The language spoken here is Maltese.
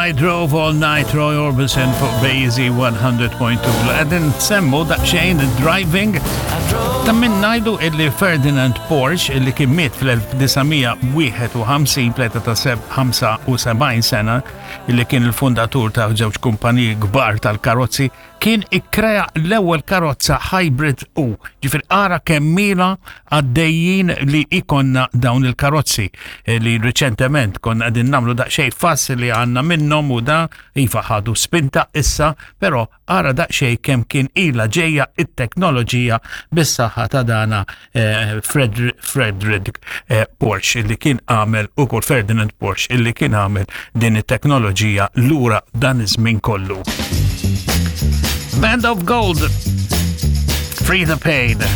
I Drove All Night, Roy Orbison fuq Bazy 100.2. Għedin semmu daqxejn driving ta' minn najdu illi Ferdinand Porsche illi kien miet fl-1951 pleta ta' 75 sena illi kien il-fundatur ta' żewġ kumpaniji kbar tal-karozzi kien ikkrea l-ewwel karozza hybrid u ġifier ara kemm ilha għaddejjin li ikonna dawn il-karozzi eh, li riċentement konna qegħdin nagħmlu daqsxejn fass li għandna minnhom u da iva ħadu spinta issa, però ara daqsxejn kemm kien ilha ġejja it-teknoloġija bis-saħħa ta' dana eh, Frederick eh, Porsche illi kien għamel ukoll Ferdinand Porsche illi kien għamel din it-teknoloġija lura dan iż-żmien kollu. Band of Gold, Free the Pain.